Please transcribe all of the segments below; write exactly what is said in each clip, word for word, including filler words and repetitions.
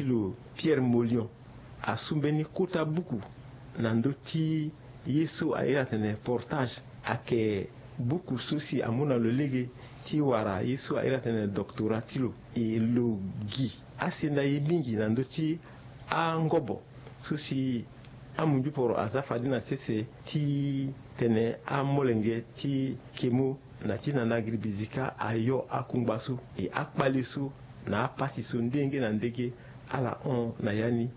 lo Pierre Molion asu mbeni kota buku na ndö ti ye so a iri atene Portage. Ayeke buku so si amu na lo lege ti wara ye so a iri atene doctorat ti lo. E lo gi asenda ye mingi na ndö ti angobo so si amunzu poro aza fade na sese ti tene amolenge ti kemo na ti nana agiri bizika ayo akungba so e akpale so na apasi so ndenge na ndenge ala hon na ya ni.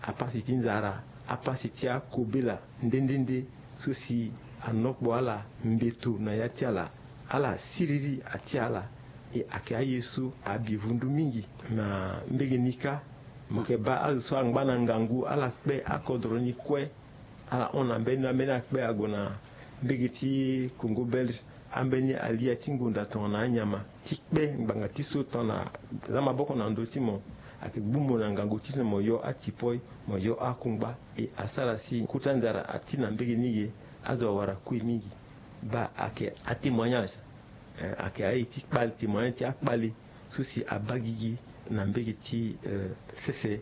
Apasi ti nzara, apasi ti akobela nde nde nde so si anokpo ala mbeto na ya ti ala. Ala siriri ati ala. E ayeke aye so abi vundu mingi na mbege ni kâ. Mo yeke baa azo so angba na ngangu ala kpe akodro ni kue. Ala hon na mbeni ambeni akpe ague na mbege ti Congo belge. Ambeni alia ti ngonda tongana anyama ti kpe ngbanga ti so tongana aza maboko na ndö ti mo. Ayeke gbu mo na ngangu ti so mo yo atipoi, mo yo akungba. E asara si kota nzara ati na mbege ni ge. Azo awara kui mingi. Baa ayeke atémoignage. Eh, ayeke aye ti kpale, témoignage ti akpale so si abaa gigi na mbege ti eh, sese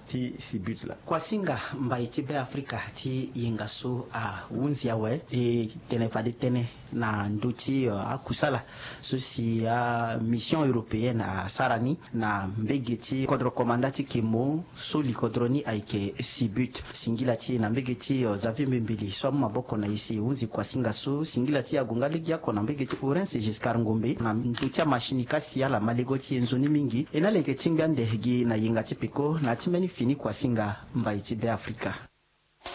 ti Sibut laa. Kuasinga mbai ti Beafrika ti yenga so ahunzi awe. E tene fade tënë na ndö ti eh, akusala so si amission européenne asara ni na mbege ti kodro komanda ti kemo so likodro ni ayeke Sibut. Singila ti e na mbege ti eh, Xavier Mbembeli so amu maboko na e si e hunzi kuasinga so. Singila ti e ague nga legeoko na mbege ti Orense Giscard Ngombe na ndö ti amasini kâ si ala ma lego ti e nzoni mingi. E na ala yeke tingbi ande gi na yenga ti peko na ya ti mbeni fini kuasinga mbai ti Beafrika.